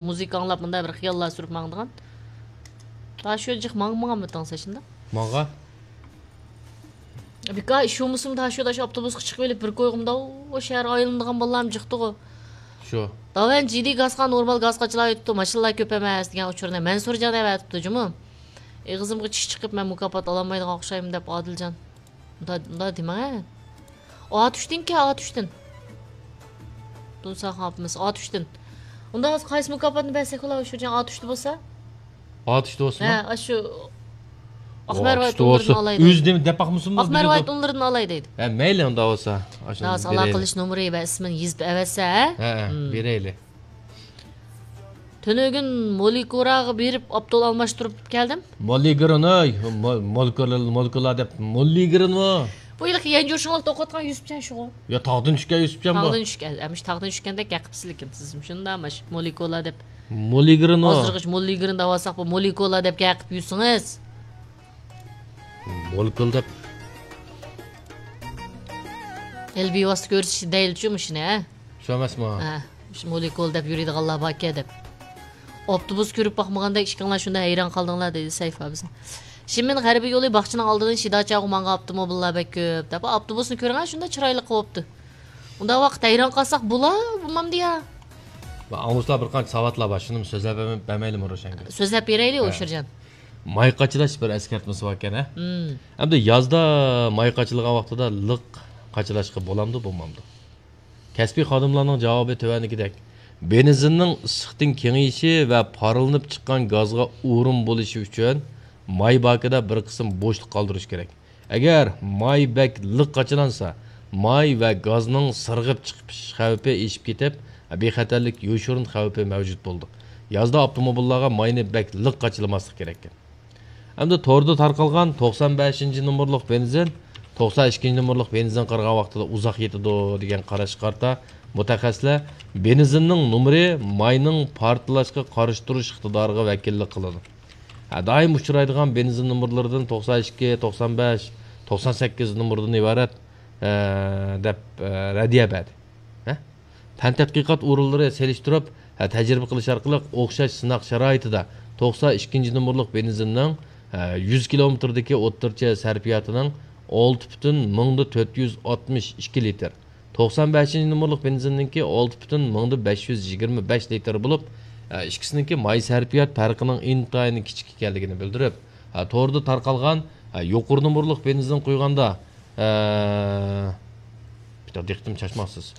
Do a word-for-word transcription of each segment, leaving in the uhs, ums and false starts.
مۇزىكا ئاڭلاپ، مۇنداق بىر خىياللار سۈرۈپ ماڭىدىغان. تاشيول جىق ماڭ-، ماڭالمىدىڭ سەن شۇنداق؟ ماڭغان. بىكار ئىش بولمىسىمۇ، تاشيولدا شۇ ئاپتوبۇسقا چىقىپ ئېلىپ بىر كويغا مۇنداق شەھەر ئايلىنىدىغان بالىلارمۇ جىقتىغۇ. شۇ. داۋەن جىدىي گازغا، نورمال گازغا چىلايتتى، ماشىنىلار كۆپ ئەمەس دېگەن ئۇچۇرنى مەنسۇرجان ئەۋەتىپتۇ جۇمۇ. ئېغىزىمغا چىش چىقىپ، مەن مۇكاپات ئالالمايدىغان ئوخشايمەن دەپ، ئادىلجان. ئۇنداق، ئۇنداق دېمەڭ. ئاتۇشتىنكى، ئاتۇشتىن. تۇنساخان ئاپىمىز، ئاتۇشتىن. ئۇنداق بولسا قايسى مۇكاپاتنى بەرسەك بولا، ئۇشۇرجان ئاتۇشتا بولسا؟ ئاتۇشتا بولسىمۇ؟ ھە، ئاشۇ ئاقمەرۋايىت ئاتۇشتا ئۇنلىرىدىن بولسا. ئالاي دەيدۇ. ئۆزى دېمە دەپ باقمىسۇنمۇ، ئاقمەرۋايىت بىلىدۇ. ئۇنلىرىدىن ئالاي دەيدۇ. ھە، مەيلى، ئۇنداق بولسا. ئاشۇنى ئالاقە بېرەيلى. قىلىش نومۇرى ۋە ئىسمىنى يېزىپ ئەۋەتسە، ھە؟ ھە، ھە، مم. بېرەيلى. تۈنۈگۈن مولىكوراغا بېرىپ ئاپتول ئالماشتۇرۇپ كەلدىم. مولىگرىن، ئاي، مول-، مولېكۇلا، مولېكۇلا دەپ، مولىگرىنمۇ؟ بۇ ھېلىقى يەنجۇشۇڭلۇقتا ئوقۇۋاتقان يۈسۈپجان شۇغۇ. يا تاغدىن چۈشكەن يۈسۈپجانمۇ؟ تاغدىن چۈشكەن، ئەمىش تاغدىن چۈشكەندەك گەپ قىپسىز لېكىن سىزمۇ شۇنداق ماش مولېكۇلا دەپ. مولىگرىنمۇ؟ ھازىرغىچە مولىگرىن دەۋالساق، بۇ مولېكۇلا دەپ گەپ قىپ يۈرسىڭىز. مولېكۇل دەپ. ھېلى بىۋاسىتە كۆرسىتىش دەيلىچۇ مۇشۇنى، ھە؟ شۇ ئەمەسمۇ؟ ھە، مۇشۇ مولېكۇل دەپ يۈرىدىغانلار باركەن دەپ. ئاپتوبۇس كۆرۈپ باقمىغاندەك ئىككىڭلار شۇنداق ھەيران قالدىڭلار، دېدى سەيفا بىزنى. شىمىن غەربىي يولى باغچىنىڭ ئالدىدىن شىداچاغۇ ماڭغان ئاپتوموبىللار بەك كۆپ، دەپ ئاپتوبۇسنى كۆرۈڭە، شۇنداق چىرايلىق قوپتۇ. ئۇنداق ۋاقىت ھەيران قالساق بولا، بولمامدۇ يا؟ ئاڭلىغۇچىلار بىر قانچە ساۋاتلار بار، شۇنىمۇ سۆزلەپ بەرمەي-، بەرمەيلىمۇ روشەنگۈل؟ سۆزلەپ بېرەيلى، ھە. ئوشۇرجان. ماي قاچىلاش بىر ئەسكەرتمىسى باركەن، ھە؟ مم. ئەمدى يازدا ماي قاچىلىغان ۋاقتىدا لىق قاچىلاشقا بولامدۇ، بولمامدۇ؟ كەسپىي خادىملارنىڭ جاۋابى تۆۋەندىكىدەك. بېنزىننىڭ ئىسسىقتىن كېڭىيىشى ۋە پارلىنىپ چىققان گازغا ئورۇن بولۇشى ئۈچۈن ماي باكىدا بىر قىسىم بوشلۇق قالدۇرۇش كېرەك. ئەگەر ماي بەك لىق قاچىلانسا، ماي ۋە گازنىڭ سىرغىپ چىقىش خەۋپى ئېشىپ كېتىپ، بىخەتەرلىك يوشۇرۇن خەۋپى مەۋجۇت بولىدۇ. يازدا ئاپتوموبىللارغا ماينى بەك لىق قاچىلىماسلىق كېرەككەن. ئەمدى توردا تارقالغان توقسان بەشىنچى نومۇرلۇق بېنزىن، توقسان ئىككىنچى نومۇرلۇق بېنزىن قارىغان ۋاقتىدا ئۇزاق يېتىدۇ دېگەن قاراشقا قارىتا، مۇتەخەسسىسلەر بېنزىننىڭ نومۇرى ماينىڭ پارتلاشقا قارشى تۇرۇش ئىقتىدارىغا ۋەكىللىك قىلىدۇ. ھە، دائىم ئۇچرايدىغان بېنزىن نومۇرلىرىدىن توقسان ئىككى، توقسان بەش، توقسان سەككىز نومۇردىن ئىبارەت، ھە، دەپ، ھە، رەددىيە بەردى. ھە؟ پەن تەتقىقات ئورۇنلىرى سېلىشتۇرۇپ، ھە، تەجرىبە قىلىش ئارقىلىق ئوخشاش سىناق شارائىتىدا توقسان ئىككىنچى نومۇرلۇق بېنزىننىڭ، ھە، يۈز كىلومېتىردىكى ئوتتۇرىچە سەرپىياتىنىڭ ئالتە پۈتۈن مىڭدا تۆت يۈز ئاتمىش ئىككى لىتىر، توقسان بەشىنچى نومۇرلۇق بېنزىننىڭكى ئالتە پۈتۈن مىڭدا بەش يۈز يىگىرمە بەش لىتىر بولۇپ، ئە، ئىككىسىنىڭكى ماي سەرپىيات پەرقىنىڭ ئىنتايىن كىچىك ئىكەنلىكىنى بىلدۈرۈپ، ئە، توردا تارقالغان، ئە، يۇقىرى نومۇرلۇق بېنزىن قۇيغاندا، ئە، بىر دىققىتىمنى چاچماقسىز.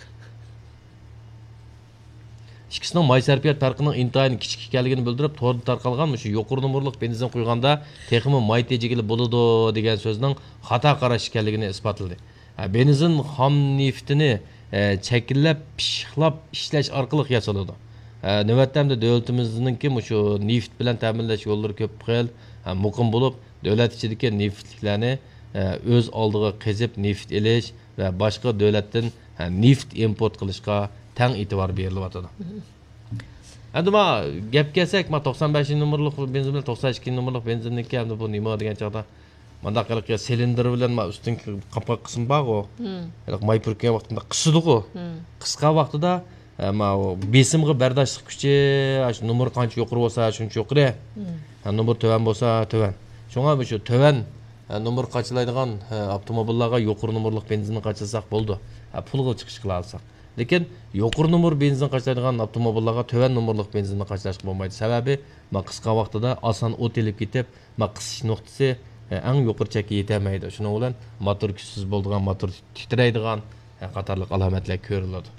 ئىككىسىنىڭ ماي سەرپىيات پەرقىنىڭ ئىنتايىن كىچىك ئىكەنلىكىنى بىلدۈرۈپ، توردا تارقالغان مۇشۇ يۇقىرى نومۇرلۇق بېنزىن قۇيغاندا تېخىمۇ ماي تېجىگىلى بولىدۇ دېگەن سۆزنىڭ خاتا قاراش ئىكەنلىكىنى ئىسپاتلىدى. ھە، بېنزىن خام نېفىتىنى، ئە، چەكلەپ، پىششىقلاپ ئىشلەش ئارقىلىق ياسىلىدۇ. ھە، نۆۋەتتە ئەمدى دۆلىتىمىزنىڭكى مۇشۇ نېفىت بىلەن تەمىنلەش يوللىرى كۆپ خىل، ھە، مۇقىم بولۇپ، دۆلەت ئىچىدىكى نېفىتلىكلەرنى، ئە، ئۆز ئالدىغا قېزىپ نېفىت ئېلىش ۋە باشقا دۆلەتتىن، ھە، نېفىت ئىمپورت قىلىشقا تەڭ ئېتىبار بېرىلىۋاتىدۇ. ئەمدى ما گەپكە كەلسەك، ما توقسان بەشىنچى نومۇرلۇق بېنزىن بىلەن توقسان ئىككىنچى نومۇرلۇق بېنزىننىڭكى ئەمدى بۇ نېمە دېگەن چاغدا، مانداق ھېلىقى سىلىندىر بىلەن ما ئۈستۈنكى قاپقاق قىسمى بارغۇ. مم. ھېلىقى ماي پۈركىگەن ۋاقتىدا قىسىدىغۇ. مم. قىسقان ۋاقتىدا، ئە، ما ئۇ بېسىمغا بەرداشلىق كۈچى، ئاشۇ نومۇر قانچە يۇقىرى بولسا، شۇنچە يۇقىرى. مم. ھە، نومۇر تۆۋەن بولسا، تۆۋەن. شۇڭا مۇشۇ تۆۋەن، ھە، نومۇر قاچىلايدىغان، ھە، ئاپتوموبىللارغا يۇقىرى نومۇرلۇق بېنزىننى قاچىلىساق بولىدۇ. ھە، پۇلغا چىقىش قىلالىساق. لېكىن يۇقىرى نومۇر بېنزىن قاچىلايدىغان ئاپتوموبىللارغا تۆۋەن نومۇرلۇق بېنزىننى قاچىلاشقا بولمايدۇ. سەۋەبى، ما قىسقا ۋاقتىدا ئاسان ئوت ئېلىپ كېتىپ، ما قىسىش نۇقتىسى، ئە، ئەڭ يۇقىرى چەككە يېتەلمەيدۇ. شۇنىڭ بىلەن موتور كۈچسىز بولىدىغان، موتور تىترەيدىغان، ئە، قاتارلىق ئالامەتلەر كۆرۈلىدۇ.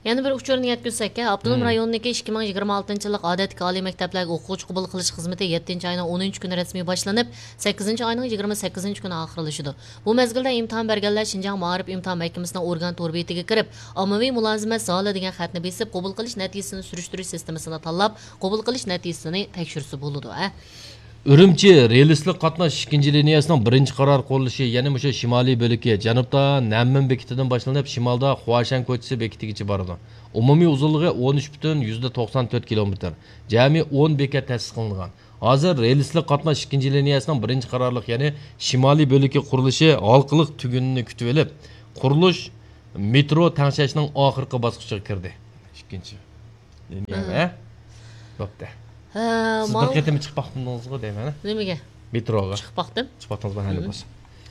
يەنە بىر ئۇچۇرنى يەتكۈزسەك، ئاپتونوم مم. رايوننىڭكى ئىككى مىڭ يىگىرمە ئالتىنچى يىللىق ئادەتتىكى ئالىي مەكتەپلەرگە ئوقۇغۇچى قوبۇل قىلىش خىزمىتى يەتتىنچى ئاينىڭ ئونىنچى كۈنى رەسمىي باشلىنىپ، سەككىزىنچى ئاينىڭ يىگىرمە سەككىزىنچى كۈنى ئاخىرلىشىدۇ. بۇ مەزگىلدە ئىمتىھان بەرگەنلەر شىنجاڭ مائارىپ ئىمتىھان مەھكىمىسىنىڭ ئورگان تور بېتىگە كىرىپ، ئاممىۋى مۇلازىمەت زالى دېگەن خەتنى بېسىپ، قوبۇل قىلىش نەتىجىسىنى سۈرۈشتۈرۈش سىستېمىسىنى تاللاپ، قوبۇل قىلىش نەتىجىسىنى تەكشۈرسە بولىدۇ، ھە. ئۈرۈمچى رېلىسلىق قاتناش ئىككىنچى لىنىيەسىنىڭ بىرىنچى قارار قۇرۇلۇشى، يەنى مۇشۇ شىمالىي بۆلىكى، جەنۇبتا نەنمىن بېكىتىدىن باشلىنىپ، شىمالدا خۇاشەن كوچىسى بېكىتىگىچە بارىدۇ. ئومۇمىي ئۇزۇنلۇقى ئون ئۈچ پۈتۈن يۈزدە توقسان تۆت كىلومېتىر. جەمئىي ئون بېكەت تەسىس قىلىنغان. ھازىر رېلىسلىق قاتناش ئىككىنچى لىنىيەسىنىڭ بىرىنچى قارارلىق، يەنى شىمالىي بۆلىكى قۇرۇلۇشى ھالقىلىق تۈگۈنىنى كۈتۈۋېلىپ، قۇرۇلۇش مېترو تەڭشەشنىڭ ئاخىرقى باسقۇچىغا كىردى. ئىككىنچى. نېمە؟ بوپتۇ. ھە، سىز بىر قېتىم چىقىپ باقتىڭىزغۇ دەيمەن. نېمىگە؟ مېتروغا. چىقىپ باقتىم. چىقىپ باقتىڭىزمۇ؟ ھە، بولسا.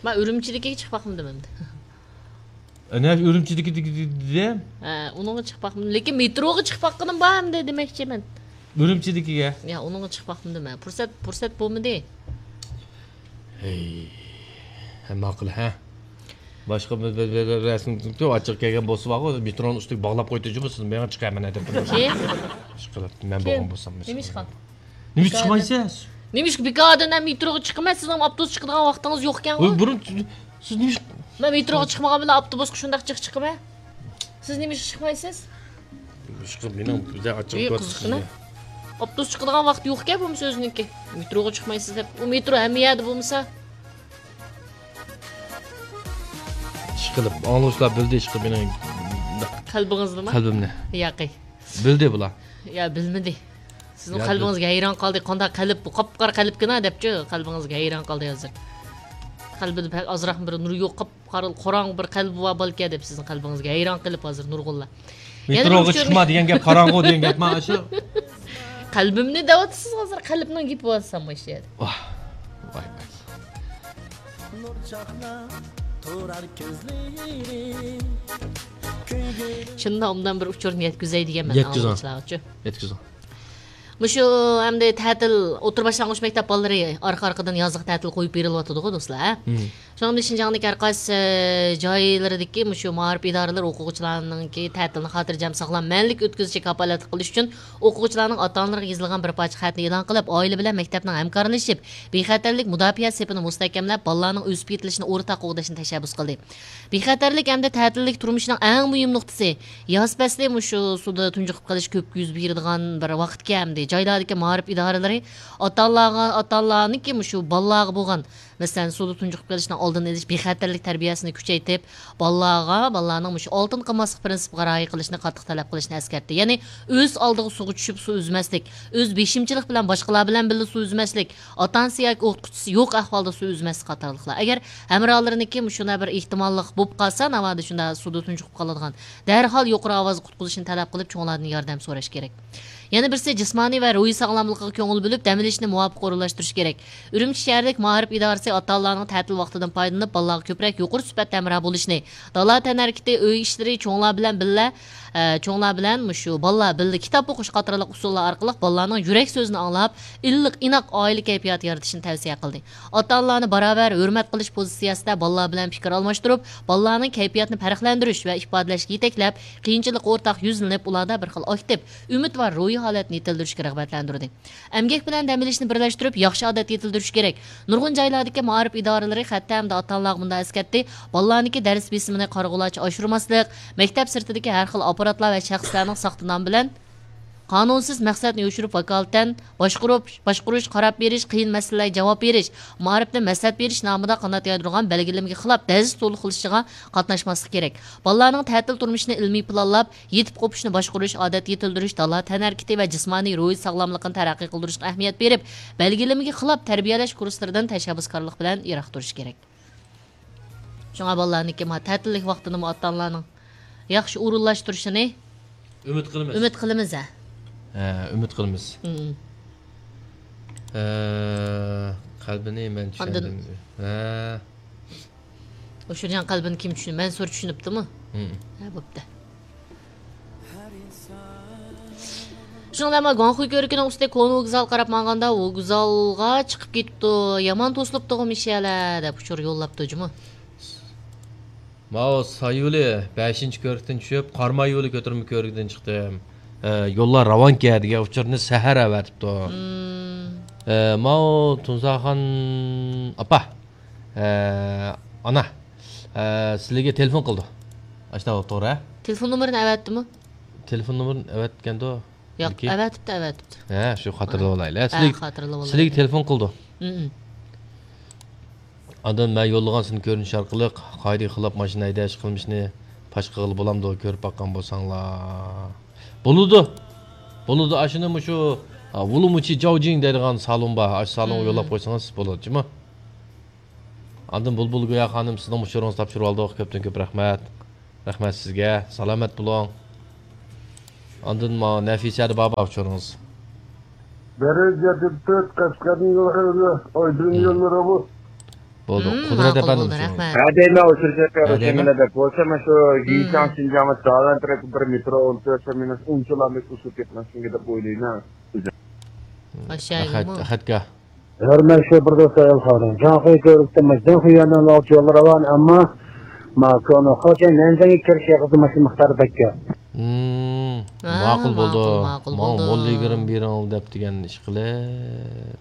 مەن ئۈرۈمچىدىكىگە چىقىپ باقمىدىم ئەمدى. ئەنە ئۈرۈمچىدىكى دېدى. ھە، ئۇنىڭغا چىقىپ باقمىدىم. لېكىن مېتروغا چىقىپ باققىنىم بار ئەمدى دېمەكچىمەن. ئۈرۈمچىدىكىگە؟ يا، ئۇنىڭغا چىقىپ باقمىدىم مەن. پۇرسەت، پۇرسەت بولمىدى. ھەي، ھە، ماقۇل، ھە. باشقا بىر، بىر، بىر، بىر رەسىم ئاچچىق كەلگەن بولسا بارغۇ، مېترونىڭ ئۈستىگە باغلاپ قويدى جۇمۇ، سىز مېڭە چىقايمەن ھە دەپ. كىم؟ ئىشقىلىپ، مەن كىم؟ بولغان بولسام، مېسىلەن. نېمىشقا؟ نېمىشقا چىقمايسىز؟ نېمىشقا بىكاردىن ھەم مېتروغا چىقىمەن، سىزنىڭ ئاپتوبۇس چىقىدىغان ۋاقتىڭىز يوقكەنغۇ؟ ۋاي، بۇرۇن سىز نېمىشقا؟ مەن مېتروغا چىقمىغان بىلەن ئاپتوبۇسقا شۇنداق جىق چىقىمەن. سىز نېمىشقا چىقمايسىز؟ ئىشقىلىپ، مېنىڭ بىزدە ئاچچىق ئىي، قىزىقىنى. ئاپتوبۇس چىقىدىغان ۋاقتى يوقكەن بولمىسا ئۆزىنىڭكى. مېتروغا چىقمايسىز دەپ. ئۇ مېترو ھەممە يەردە بولمىسا. ئىشقىلىپ، ئاڭلىغۇچىلار بىلدى ئىشقىلىپ مېنىڭ قەلبىڭىزنىمۇ؟ قەلبىمنى. ياقى. بىلدى بۇلار. يا، بىلمىدى. سىزنىڭ يا، قەلبىڭىزگە ھەيران قالدى. قانداق قەلب بۇ؟ قاپقارا قەلبكىنا دەپچۇ، قەلبىڭىزگە ھەيران قالدى ھازىر. قەلبىدە بەك ئازراقمۇ بىر نۇر يوق، قاپقارا، قاراڭغۇ بىر قەلبى بار بالىكەن دەپ سىزنىڭ قەلبىڭىزگە ھەيران قېلىپ ھازىر نۇرغۇنلار. يەنە بىر مېتروغا ئۇچۇرنى چىقما دېگەن گەپ، قاراڭغۇ دېگەن گەپما ئاشۇ. قەلبىمنى دەۋاتىسىز ھازىر، قەلبنىڭ گېپى بولسام ئاشۇ يەردە. ۋاھ، ۋاي، ۋاي. شۇنداق ئوبدان بىر ئۇچۇرنى يەتكۈزەي دېگەن مەن يەتكۈزۈڭ. ئاڭلىغۇچىلارغىچۇ. يەتكۈزۈڭ. مۇشۇ ئەمدى تەتىل، ئوتتۇرا باشلانغۇچ مەكتەپ بالىلىرى ئارقا-ئارقىدىن يازلىق تەتىل قويۇپ بېرىلىۋاتىدىغۇ، دوستلار، ھە؟ مم. شۇنىڭ بىلەن شىنجاڭدىكى ھەر قايسى، ئە، جايلىرىدىكى مۇشۇ مائارىپ ئىدارىلىرى ئوقۇغۇچىلارنىڭكى تەتىلىنى خاتىرجەم، ساغلام، مەنىلىك ئۆتكۈزۈشىگە كاپالەتلىك قىلىش ئۈچۈن ئوقۇغۇچىلارنىڭ ئاتا-ئانىلىرىغا يېزىلغان بىر پارچە خەتنى ئېلان قىلىپ، ئائىلە بىلەن مەكتەپنىڭ ھەمكارلىشىپ، بىخەتەرلىك مۇداپىئە سېپىنى مۇستەھكەملەپ، بالىلارنىڭ ئۆسۈپ يېتىلىشىنى ئورتاق قوغداشنى تەشەببۇس قىلدى. بىخەتەرلىك ھەمدە تەتىللىك تۇرمۇشنىڭ ئەڭ مۇھىم نۇقتىسى، ياز پەسلى مۇشۇ سۇدا تۇنجۇقۇپ قېلىش كۆپ يۈز بېرىدىغان بىر ۋاقىتكەن ئەمدى. جايلاردىكى مائارىپ ئىدارىلىرى ئاتا-ئانىلارغا، ئاتا-ئانىلارنىڭكى مۇشۇ بالىلارغا بولغان، مەسىلەن، سۇدا تۇنجۇقۇپ قېلىشنىڭ ئالدىنى ئېلىش، بىخەتەرلىك تەربىيەسىنى كۈچەيتىپ، بالىلارغا، بالىلارنىڭ مۇشۇ ئالتۇن قالماسلىق پىرىنسىپىغا رىئايە قىلىشنى قاتتىق تەلەپ قىلىشنى ئەسكەرتتى. يەنى ئۆز ئالدىغا سۇغا چۈشۈپ سۇ ئۈزمەسلىك، ئۆز بېشىمچىلىق بىلەن باشقىلار بىلەن بىللە سۇ ئۈزمەسلىك، ئاتا-ئانىسى ياكى ئوقۇتقۇچىسى يوق ئەھۋالدا سۇ ئۈزمەسلىك قاتارلىقلار. ئەگەر ھەمراھلىرىنىڭكى مۇشۇنداق بىر ئېھتىماللىق بولۇپ قالسا، ناۋادا شۇنداق سۇدا تۇنجۇقۇپ قالىدىغان، دەرھال يۇقىرى ئاۋازدا قۇتقۇزۇشنى تەلەپ قىلىپ، چوڭلاردىن ياردەم سوراش كېرەك. يەنە بىرسى، جىسمانىي ۋە روھىي ساغلاملىقىغا كۆڭۈل بۆلۈپ، دەم ئېلىشنى مۇۋاپىق ئورۇنلاشتۇرۇش كېرەك. ئۈرۈمچى شەھەردىكى مائارىپ ئىدارىسى ئاتا-ئانىلارنىڭ تەتىل ۋاقتىدىن پايدىلىنىپ، بالىلارغا كۆپرەك يۇقىرى سۈپەتتە ھەمراھ بولۇشنى، دالا تەنھەرىكىتى، ئۆي ئىشلىرى، چوڭلار بىلەن بىللە، ئە، چوڭلار بىلەن مۇشۇ بالىلار بىللە كىتاب ئوقۇش قاتارلىق ئۇسۇللار ئارقىلىق بالىلارنىڭ يۈرەك سۆزىنى ئاڭلاپ، ئىللىق، ئىناق ئائىلە كەيپىياتى يارىتىشنى تەۋسىيە قىلدى. ئاتا-ئانىلارنى باراۋەر ھۆرمەت قىلىش پوزىتسىيەسىدە بالىلار بىلەن پىكىر ئالماشتۇرۇپ، بالىلارنىڭ كەيپىياتىنى پەرقلەندۈرۈش ۋە ئىپادىلەشكە يېتەكلەپ، قىيىنچىلىققا ئورتاق يۈزلىنىپ، ئۇلاردا بىر خىل ئاكتىپ، ئۈمىدۋار روھىي ھالەتنى يېتىلدۈرۈشكە رىغبەتلەندۈردى. ئەمگەك بىلەن دەم ئېلىشنى بىرلەشتۈرۈپ، ياخشى ئادەت يېتىلدۈرۈش كېرەك. نۇرغۇن جايلاردىكى مائارىپ ئىدارىلىرى خەتتە ھەمدە ئاتا-ئانىلارغا مۇنداق ئەسكەرتتى: بالىلارنىڭكى دەرس بېسىمىنى قارىغۇلارچە ئاشۇرماسلىق، مەكتەپ سىرتىدىكى ھەر خىل ئاپپاراتلار ۋە شەخسلەرنىڭ ساختا نام بىلەن قانۇنسىز مەقسەتنى يوشۇرۇپ ۋاكالىتەن باشقۇرۇپ، باشقۇرۇش، قاراپ بېرىش، قىيىن مەسىلىلەرگە جاۋاب بېرىش، مائارىپنى مەسلىھەت بېرىش نامىدا قانات يايدۇرغان بەلگىلىمىگە خىلاپ دەرس تولۇق قىلىشىغا قاتناشماسلىق كېرەك. بالىلارنىڭ تەتىل تۇرمۇشىنى ئىلمىي پىلانلاپ، يېتىپ قوپۇشنى باشقۇرۇش، ئادەت يېتىلدۈرۈش، دالا تەنھەرىكىتى ۋە جىسمانىي، روھىي ساغلاملىقىنى تەرەققىي قىلدۇرۇشقا ئەھمىيەت بېرىپ، بەلگىلىمىگە خىلاپ تەربىيەلەش كۇرسلىرىدىن تەشەببۇسكارلىق بىلەن يىراق تۇرۇش كېرەك. شۇڭا بالىلارنىڭكى ما تەتىللىك ۋاقتىنىمۇ ئاتا-ئانىلارنىڭ ياخشى ئورۇنلاشتۇرۇشىنى ئۈمىد قىلىمىز. ئۈمىد قىلىمىز، ھە. ھە، ئۈمىد قىلىمىز. مم. ھە، قەلبىنى مەن ئاندىن چۈشەندىم. ھە. ئوشۇرجان قەلبىنى كىم چۈشىنىدۇ؟ مەنسۇر چۈشىنىپتىمۇ؟ مم. ھە، بوپتۇ. شۇنىڭ بىلەن مانا گۇاڭخۇي كۆۋرۈكىنىڭ ئۈستىدە كونا ۋوگزال قاراپ ماڭغاندا، ۋوگزالغا چىقىپ كېتىپتۇ، يامان توسۇلۇپتۇغۇ مىشەلە دەپ ئۇچۇر يوللاپتۇ جۇمۇ. ماۋۇ سايولى بەشىنچى كۆۋرۈكتىن چۈشۈپ، قاراماي يولى كۆتۈرمە كۆۋرۈكىدىن چىقتىم. ئە، يوللار راۋانكەن دېگەن ئۇچۇرنى سەھەر ئەۋەتىپتۇ. مم. ئە، ماۋۇ تۇنساخان ئاپا، ئە، ئانا، ئە، سىلىگە تېلېفون قىلىدۇ. ئاشۇنداق بولۇپ توغرا، ھە؟ تېلېفون نومۇرىنى ئەۋەتتىمۇ؟ تېلېفون نومۇرىنى ئەۋەتكەندۇ. ياق، بەلكى ئەۋەتىپتۇ، ئەۋەتىپتۇ. ھە، شۇ خاتىرىلىۋالايلى. ھە، سىلىگە، خاتىرىلىۋالايلى. سىلىگە تېلېفون قىلىدۇ. مم. ئاندىن مەن يوللىغان سىن كۆرۈنۈش ئارقىلىق قائىدىگە خىلاپ ماشىنا ھەيدەش قىلمىشىنى پاش قىلغىلى بولامدۇ؟ كۆرۈپ باققان بولساڭلار. بولىدۇ. بولىدۇ. ئاشۇنى مۇشۇ، ھە، ۋۇلۇمۇچى جاۋجىڭ دەيدىغان سالون بار. ئاشۇ سالونغا يوللاپ قويسىڭىز بولىدۇ جۇمۇ. ئاندىن بۇلبۇل گويا خانىم، سىزنىڭ ئۇچۇرىڭىزنى تاپشۇرۇۋالدۇق. كۆپتىن كۆپ رەھمەت. رەھمەت سىزگە. سالامەت بولۇڭ. ئاندىن ماۋۇ نەفىسەدە بار بار ئۇچۇرىڭىز. بىر يۈز يەتتە تۆت قەشقەرنىڭ يوللىرى، ئايدىن يوللىرى بۇ. بولدى. قۇدرەت ئەپەندىم، بولدى، رەھمەت. ھە، دەيمەن، ئۇچۇر چەككە، ھە، دەيمەن. بولسا، مانا شۇ، ھە، جىشاڭ شىنجاڭ تالان تەرەپى بىر مېترو ئون تۆت مىنۇت ئۇنچىلا ئۇسۇل كەتمەسمىكىن دەپ ئويلايمەن. ئاشۇ يەرگىمۇ؟ خەت-، خەتكە. ھۆرمەتلىك شوپۇر دوستلار، ئەلخارىن. جاڭخۇي كۆۋرۈكتە، جاڭخۇي يەنە ئاۋچى يوللىرى بار، ئەمما ماكونو خوچەن نەنجىڭگە كىرىش ياقىسى ماشىنا مىقدارى بەككە. مم، ھە، ماقۇل بولدى. ماقۇل، ماقۇل ماڭا بولدى. مول يىگىرمە بېرىڭ دەپ دېگەن ئىشقىلىپ.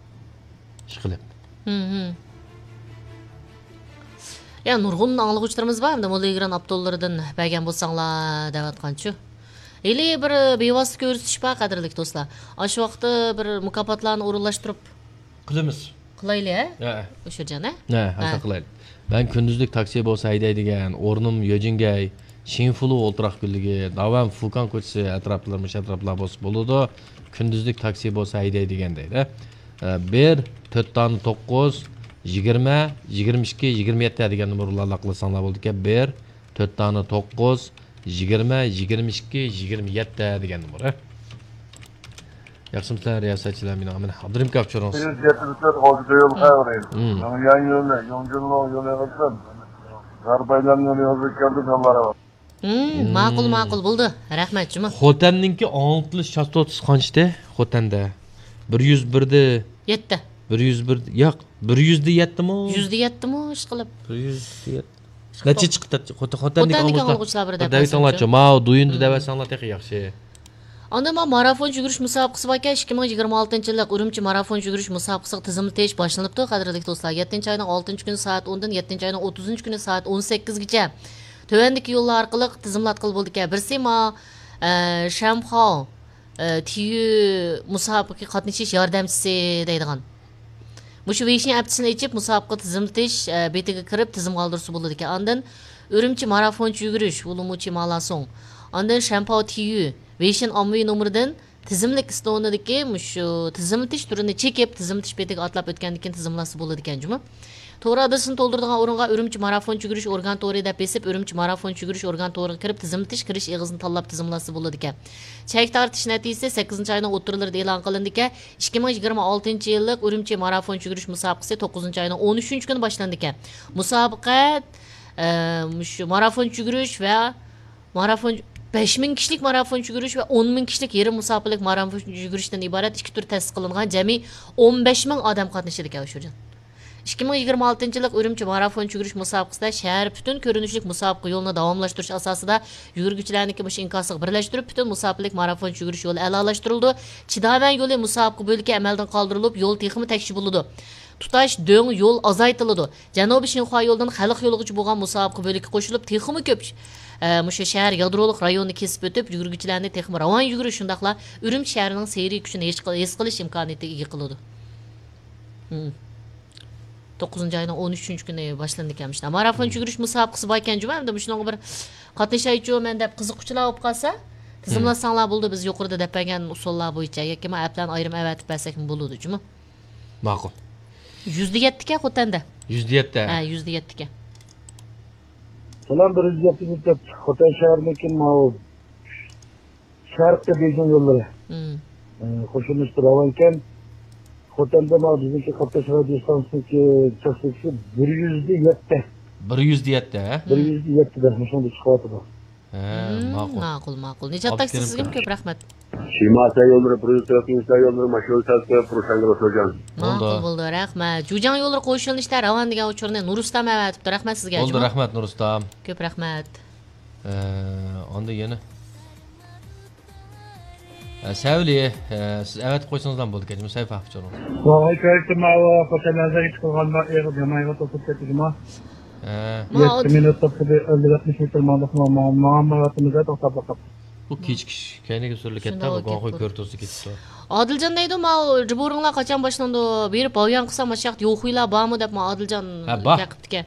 ئىشقىلىپ. ھىم، ھىم. يا، نۇرغۇن ئاڭلىغۇچىلىرىمىز بار، ئەمدى موللىگران ئاپتوللىرىدىن بەرگەن بولساڭلار دەۋاتقانچۇ. ھېلى بىر بىۋاسىتە كۆرسىتىش بار، قەدىرلىك دوستلار. ئاشۇ ۋاقىتتا بىر مۇكاپاتلارنى ئورۇنلاشتۇرۇپ قىلىمىز. قىلايلى، ھە؟ ھە. ئۇشۇرجان، ھە؟ ھە، ھە. قىلايلى. مەن كۈندۈزلۈك تاكسى بولسا ھەيدەيدىگەن، ئورنۇم يۆجىنگەي، شىنفۇلۇ ئولتۇراق گۈللۈكى، داۋەن فۇكان كوچىسى ئەتراپلىرى، مۇشۇ ئەتراپلار بولسا بولىدۇ. كۈندۈزلۈك تاكسى بولسا ھەيدەيدىگەن دەيدۇ. ئە، بىر، تۆت دانە توققۇز، يىگىرمە، يىگىرمە ئىككى، يىگىرمە يەتتە دېگەن نومۇرلارنى قىلساڭلار بولىدىكەن. بىر، تۆت دانە توققۇز، يىگىرمە، يىگىرمە ئىككى، يىگىرمە يەتتە دېگەن نومۇر، ھە؟ ياخشىمۇسىلەر رىياسەتچىلەر، مېنىڭ ئامىن ئابدۇرېھىم كاپچۇرۇڭ. مم. مم، ماقۇل، ماقۇل، بولدى. رەھمەت جۇمۇ. خوتەننىڭكى ئاڭلىتىلىش چاستوتىسى قانچىدى؟ خوتەندە. بىر يۈز بىردە. يەتتە. بىر يۈز بىر، ياق، بىر يۈزدە يەتتىمۇ؟ يۈزدە يەتتىمۇ، ئىشقىلىپ. بىر يۈزدە يەتتە. نەچچە چىقتى؟ خوت-، خوتەندىكى ئاڭلىغۇچىلار بىر دەۋېتىڭلارچۇ. ماۋۇ دۇيۇندا دەۋەتسەڭلار تېخى ياخشى. ئاندىن مانا مارافون يۈگۈرۈش مۇسابىقىسى باركەن، ئىككى مىڭ يىگىرمە ئالتىنچى يىللىق ئۈرۈمچى مارافون يۈگۈرۈش مۇسابىقىسىغا تىزىملىتىش باشلىنىپتۇ، قەدىرلىك دوستلار. يەتتىنچى ئاينىڭ ئالتىنچى كۈنى سائەت ئوندىن يەتتىنچى ئاينىڭ ئوتتۇزىنچى كۈنى سائەت ئون سەككىزگىچە تۆۋەندىكى يوللار ئارقىلىق تىزىملاتقىلى بولىدىكەن. بىرسى ما، ئە، شەنخاۋ، ئە، تيۈ مۇسابىقىگە قاتنىشىش ياردەمچىسى دەيدىغان. مۇشۇ ۋېيشىن ئەپچىسىنى ئېچىپ، مۇسابىقە تىزىملىتىش، ئە، بېتىگە كىرىپ تىزىمغا ئالدۇرسا بولىدىكەن. ئاندىن ئۈرۈمچى مارافونچە يۈگۈرۈش، ۋۇلۇمۇچى مالاسوڭ. ئاندىن شەنپاۋ تيۈ، ۋېيشىن ئاممىۋى نومۇرىدىن تىزىملىك ئىستونىدىكى مۇشۇ تىزىملىتىش تۈرىنى چېكىپ، تىزىملىتىش بېتىگە ئاتلاپ ئۆتكەندىن كېيىن تىزىملاتسا بولىدىكەن جۇمۇ. تور ئادرېسىنى تولدۇرىدىغان ئورۇنغا ئۈرۈمچى مارافونچە يۈگۈرۈش ئورگان تورى دەپ بېسىپ، ئۈرۈمچى مارافونچە يۈگۈرۈش ئورگان تورىغا كىرىپ، تىزىملىتىش كىرىش ئېغىزىنى تاللاپ تىزىملاتسا بولىدىكەن. چەك تارتىش نەتىجىسى سەككىزىنچى ئاينىڭ ئوتتۇرىلىرىدا ئېلان قىلىنىدىكەن. ئىككى مىڭ يىگىرمە ئالتىنچى يىللىق ئۈرۈمچى مارافونچە يۈگۈرۈش مۇسابىقىسى توققۇزىنچى ئاينىڭ ئون ئۈچىنچى كۈنى باشلىنىدىكەن. مۇسابىقە، ئە، مۇشۇ مارافونچە يۈگۈرۈش ۋە مارافون، بەش مىڭ كىشىلىك مارافونچە يۈگۈرۈش ۋە ئون مىڭ كىشىلىك يېرىم مۇساپىلىك مارافونچە يۈگۈرۈشتىن ئىبارەت ئىككى تۈر تەسىس قىلىنغان جەمئىي ئون بەش مىڭ ئادەم قاتنىشىدىكەن، ئۇشۇرجان. ئىككى مىڭ يىگىرمە ئالتىنچى يىللىق ئۈرۈمچى مارافونچە يۈگۈرۈش مۇسابىقىسىدە شەھەر پۈتۈن كۆرۈنۈشلۈك مۇسابىقە يولىنى داۋاملاشتۇرۇش ئاساسىدا يۈگۈرگۈچىلەرنىڭكى مۇشۇ ئىنكاسىغا بىرلەشتۈرۈپ، پۈتۈن مۇساپىلىك مارافونچە يۈگۈرۈش يولى ئەلالاشتۇرۇلىدۇ. چىداۋەن يولى مۇسابىقە بۆلىكى ئەمەلدىن قالدۇرۇلۇپ، يول تېخىمۇ تەكشى بولىدۇ. تۇتاش دۆڭ يول ئازايتىلىدۇ. جەنۇبىي شىنخۇا يولىدىن خەلق يولىغىچە بولغان مۇسابىقە بۆلىكى قوشۇلۇپ، تېخىمۇ كۆپ، ئە، مۇشۇ شەھەر يادرولۇق رايونىنى كېسىپ ئۆتۈپ، يۈگۈرگۈچىلەرنى تېخىمۇ راۋان يۈگۈرۈش، شۇنداقلا ئۈرۈمچى شەھىرىنىڭ سېھرىي كۈچىنى ھېس قىل-، ھېس قىلىش ئىمكانىيىتىگە ئىگە قىلىدۇ. مم. توققۇزىنچى ئاينىڭ ئون ئۈچىنچى كۈنى باشلىنىدىكەن مۇشۇنداق. مارافون يۈگۈرۈش مۇسابىقىسى باركەن جۇمۇ، ئەمدى مۇشۇنىڭغا بىر قاتنىشايچۇ مەن دەپ قىزىققۇچىلار بولۇپ قالسا، تىزىملاتساڭلار بولىدۇ، بىز يۇقىرىدا دەپ بەرگەن ئۇسۇللار بويىچە ياكى ما ئەپلەرنى ئايرىم ئەۋەتىپ بەرسەكمۇ بولىدۇ جۇمۇ. ماقۇل. يۈزدە يەتتىكەن خوتەندە. يۈزدە يەتتە. ھە، يۈزدە يەتتىكەن. سالام، بىر يۈز يەتتە يۈز دەپ خوتەن شەھىرىدىكى ماۋۇ شەرقىي بېيجىڭ يوللىرى. مم. ئى، قوشۇلمىسىدا راۋانكەن. خوتەندە ماۋۇ بىزنىڭكى قاتناش رادىيو ستانسىسىنىڭكى چاستوتىسى بىر يۈزدە يەتتە. بىر يۈزدە يەتتە، ھە؟ بىر يۈزدە يەتتە دەپ مۇشۇندا چىقىۋاتىدۇ. ھە، مم، ماقۇل. ماقۇل، ماقۇل. نىجات ئاكا، سىزگىمۇ كۆپ رەھمەت. شىماسا يوللىرى، پروزىتروفنىسا يوللىرى، ماشىنا ساتقى، پروشانگا سوجان. بولدى. ماقۇل بولدى، رەھمەت. جۇجاڭ يوللىرى قوشۇلۇشتا راۋان دېگەن ئۇچۇرنى نۇرۇسلام ئەۋەتىپتۇ. رەھمەت سىزگە، بولدى، جۇمۇ. رەھمەت، نۇرۇسلام. كۆپ رەھمەت. ئە، ئاندىن يەنە. ئە، سەۋلى، ئە، سىز ئەۋەتىپ قويسىڭىزلا بولىدىكەن، جۇمۇ، سەيپا ئۇچۇرىڭىز. ۋاي، كۆرۈشتۈم، ئاۋۇ خوتەن نەزەرگە چىقىرغاندا ئېغىر جامايىغا توسۇپ كەتتى، جۇمۇ. ھە. يەتتە مىنۇت توختىدى، ئەللىك ئاتمىش مېتىر ماڭدۇق، ماڭا، ماڭا، ماڭا، ماڭا، توختاپ باقاپ. بۇ كېچىكىش كەينىگە سۈرۈلۈپ كەتتى، شۇنداق بۇ گۇاڭخۇي كۆرۈتۈلسە كېتىپتۇ. ئادىلجان دەيدۇ، ماۋۇ جىبورىڭلار قاچان باشلىنىدۇ؟ بېرىپ باۋيان قىلسام، ماشۇ ياقتا يوخۇيلار بارمۇ دەپ، ما ئادىلجان ھە، بار. بېقىپتىكەن.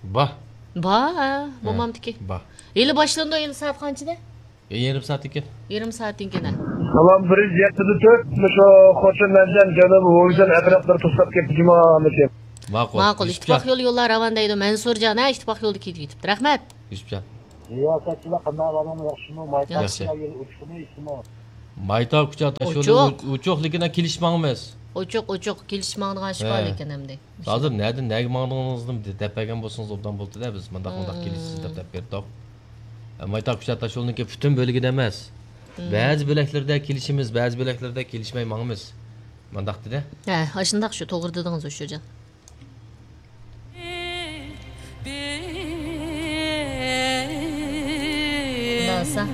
بار. بار، ھە، ھە، بولمامدىكى. بار. ھېلى باشلىنىدۇ، ئەمدى سائەت قانچىدە؟ يېرىم سائەتتىن كېيىن. يېرىم سائەتتىن كېيىن، ھە. سالام، بىر يۈز يەتتە تۆت، مۇشۇ خوتەن نەنجىڭ جەنۇبىي ۋويجەن ئەتراپلىرى توسۇلۇپ كەتتى جۇمۇ، ھەممىسى. ماقۇل. ماقۇل. يۈسۈپجان. ئىتتىپاق يولى يوللار راۋان دەيدۇ. مەنسۇرجان، ھە، ئىتتىپاق يولىدا كېتىپ كېتىپتۇ. رەھمەت. يۈسۈپجان. رىياسەتچىلەر قانداق ئەھۋالىڭلار، ياخشىمۇ؟ مايتاق ياخشى. كوچا يولى ئوچۇقمۇ، ئىچىمۇ؟ مايتاق كوچا تاش يولى ئوچۇق. ئۇ-، ئوچۇق، لېكىن كېلىشماڭمىز. ئوچۇق، ئوچۇق، كېلىشماڭىدىغان ئىش بار ھە. لېكىن ئەمدى. ھازىر نەدىن نەگە ماڭدىڭىزنى دەپ بەرگەن بولسىڭىز ئوبدان بولدى-دە، بىز مۇنداق، مۇنداق مم. كېلىشىسىز دەپ، دەپ بەردۇق. مايتاق كوچا تاش يولىنىڭكى پۈتۈن بۆلىكىدە ئەمەس. مم. بەزى بۆلەكلىرىدە كېلىشىمىز، بەزى بۆلەكلىرىدە كېلىشمەي ماڭىمىز. مۇنداق دېدى. ھە، ئاشۇنداق شۇ، توغرا دېدىڭىز، ئۇششۇرجان. خۇداسا.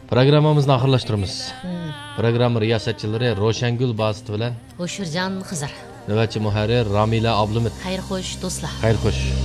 پروگراممىمىزنى ئاخىرلاشتۇرىمىز. مم. پروگرامما رىياسەتچىلىرى روشەنگۈل باسىت بىلەن ئۇششۇرجان خىزىر. نۆۋەتچى مۇھەررىر رامىلە ئابلىمىت. خەير خوش، دوستلار. خەير خوش.